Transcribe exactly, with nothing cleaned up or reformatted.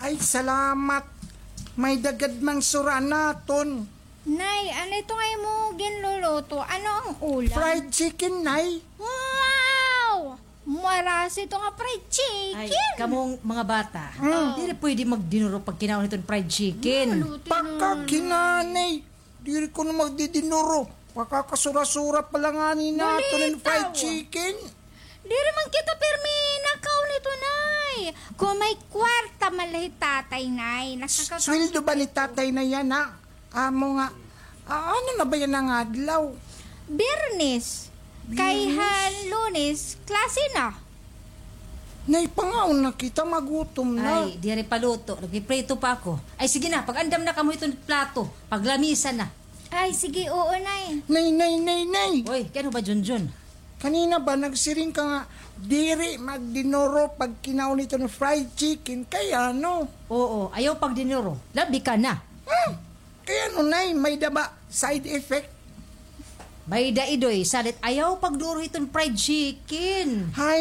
Ay, salamat. May-ada gad man sura naton. Nay, ano ito nga imo ginluluto? Ano ang ulam? Fried chicken, Nay. Wow! Marasa ito nga fried chicken. Ay, kamong mga bata. Mm. Diri pwede magdinuro pagkinaon hiton fried chicken. Maluto na. Pakakinanay. Diri kuno magdidinuro. Pakakasura-sura pa la ngani naton hin fried chicken. Diri man kita pirmi nakaon hito, Nay. Kon may kwarta man la hi tatay, Nay. Nakakaka- Sweldo ba ni tatay na yana? Amo nga, ah, ano na ba yana nga adlaw? Biyernes. Kay han Lunes, klase na. Nay, pangaon na kita, magutom na. Ay, diri pa luto. Nagpiprito pa ako. Ay, sige na, pag-andam na kamo hiton plato. Paglamisa na. Ay, sige, oo, Nay. Nay, nay, nay, nay. Oy, kay ano ba, Junjun? Kanina ba, nagsiring ka nga, diri magdinuro pagkinaon hiton fried chicken, kay ano? Oo, ayaw pagdinuro. Labi ka na. Hmm? Kay ano, Nay, may-ada ba side effect? May-ada, Idoy, salit ayaw pagduro hiton fried chicken. Hay,